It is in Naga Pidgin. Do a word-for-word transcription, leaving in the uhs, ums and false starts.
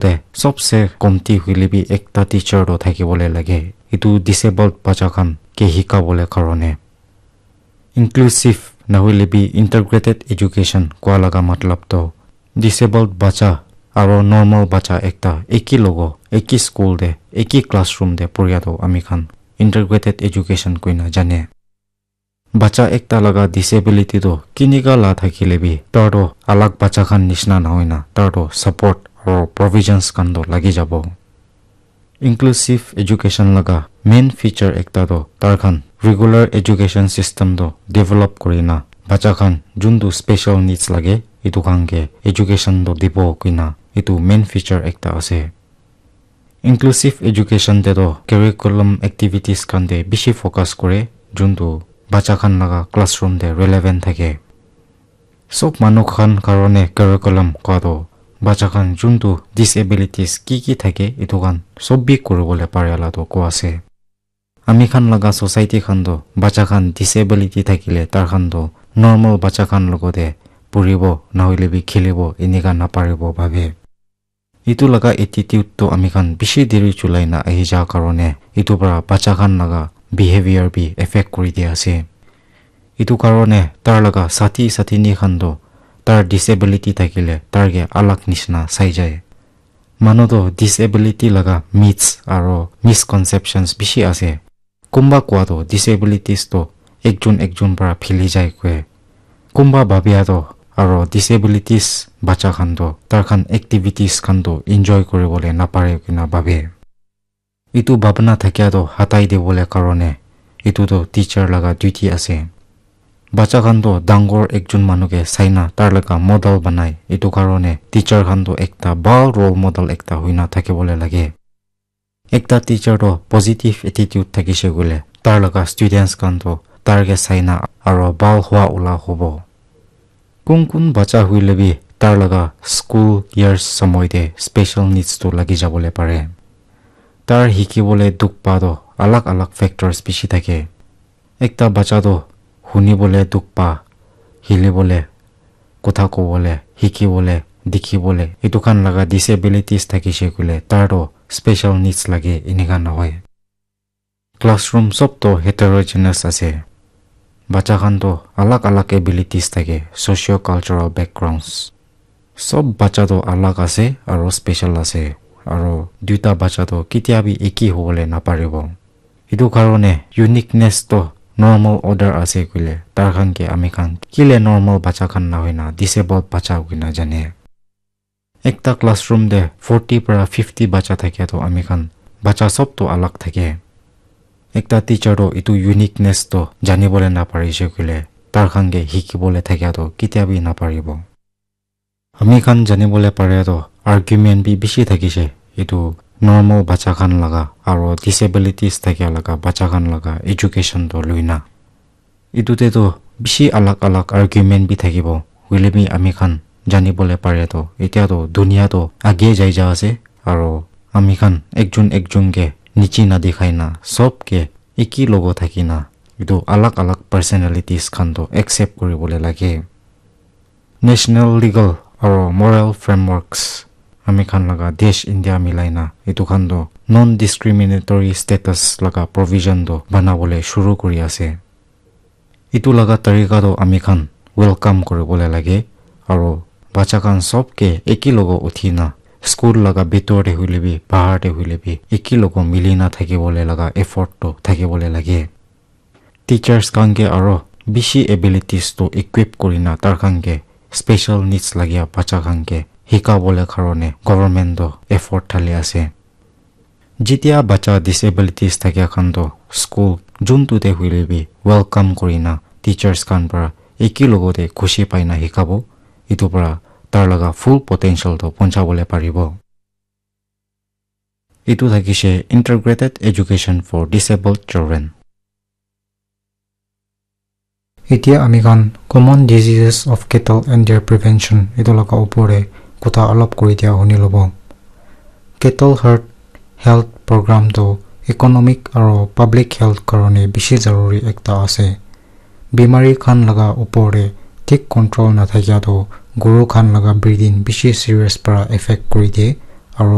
te sobse komti hoile bi ekta teacher toh thakibole lage, etu disabled bacha khan ke hikabole karone. Inclusive nahoile bi integrated education kua laga matlab toh disabled bacha aro normal bacha ekta eki logo, eki school te, eki classroom te poria toh ami khan integrated education koina jane. Bacha ekta laga disability toh kinika la thakile bi, tar toh alag bacha khan nishina nahoina, tar toh support aro provisions khan toh lagi jabo. Inclusive education laga main feature ekta toh tar khan regular education system toh develop kurina, bacha khan juntu special needs lage, etu khan ke education toh dibo kuina, etu main feature ekta ase. Inclusive education te toh curriculum activities khan te bishi focus kore, juntu bacha khan laga classroom te relevant thake. Sob manu khan karone curriculum kua toh bacha khan juntu disabilities ki ki thake, etu khan sob bi kuribole pare la toh kua ase. Ami khan laga society khan toh bacha khan disability thakile tar khan toh normal bacha khan logote puribo nahoile bi khilibo enika naparibo bhabe. Etu laga attitude toh ami khan bishi deri chulai na ahi ja karone etu para bacha khan laga behavior bi affect kuri dia ase. Etu karone tar laga sathi sathini khan toh tar disability thakile tar ke alag nishina sai jai. Manu toh disability laga myths aro misconceptions bishi ase. Kumba kua toh disabilities toh ekjon ekjon para phili jai koi. Kumba babia toh aro disabilities bacha khan toh tar khan activities khan toh enjoy kuribole napare kina babe. Etu bhabna thakia toh hatai dibole karone etu toh teacher laga duty ase. Bacha khan toh dangor ekjon manu ke saina tar laga model banai, etu karone teacher khan toh ekta bhal role model ekta hoina thakibole lage. Ekta teacher toh positive attitude thakishe koile tar laga students khan toh tar ke saina aro bhal hua ula hobo. Kun kun bacha hoile bi tar laga school years samoi te special needs toh lagi jabole pare. Tar hikibole dukh pa toh alag alag factors bishi thake. Ekta bacha toh hunibole dukh pa, hilibole, kotha kobole, hikibole, dikhibole, etu khan laga disabilities thakishe koile tar toh special needs lage enika nohoi. Classroom sob toh heterogeneous ase. Bacha khan toh alag alag abilities thake, socio-cultural backgrounds. Sob bacha toh alag ase aro special ase, aro duita bacha toh ketia bi eki hobole naparibo. Etu karone uniqueness toh normal order ase koile tar khan ke ami khan kile normal bacha khan nahoina disabled bacha koina jane. Ekta classroom te forty para fifty bacha thakia toh ami khan bacha sob toh alag thake. Ekta teacher toh etu uniqueness toh janibole naparishe koile tar khan ke hikibole thakia toh ketia bi naparibo. Ami khan janibole pare toh argument bi bishi thakishe, etu normal bacha khan laga aro disabilities thakia laga bacha khan laga education toh luina. Etu te toh bishi alag alag argument bi thakibo, hoile bi ami khan janibole pare toh etia toh dunia toh age jai ja ase, aro ami khan ekjon ekjon ke niche nadikhai na sob ke eki logo thaki na etu alag alag personalities khan toh accept kuribole lage. National legal aro moral frameworks ami khan laga desh India milai na etu khan toh non-discriminatory status laga provision toh banabole shuru kuri ase. Etu laga tarika toh ami khan welcome kuribole lage, aro bacha khan sob ke eki logo uthi na school laga bitor te hoile bi bahar te hoile bi eki logo mili na thakibole laga effort toh thakibole lage. Teachers khan ke aro bishi abilities toh equip kurina tar khan ke special needs lagia bacha khan ke hikabole karone government toh effort thali ase. Jetia bacha disabilities thakia khan toh school juntu te hoile bi welcome kurina teachers khan para eki logote khushi paina hikabo, etu para tar laga full potential toh ponchabole paribo. Etu thakishe Integrated Education for Disabled Children. Etia ami khan common diseases of cattle and their prevention etu laga upor te kotha olop kuri dia huni lobo. Cattle herd health program toh economic aro public health karone bishi zaruri ekta ase. Bimari khan laga upor te thik control nathakia toh guru khan laga breeding bishi serious para effect kuri die,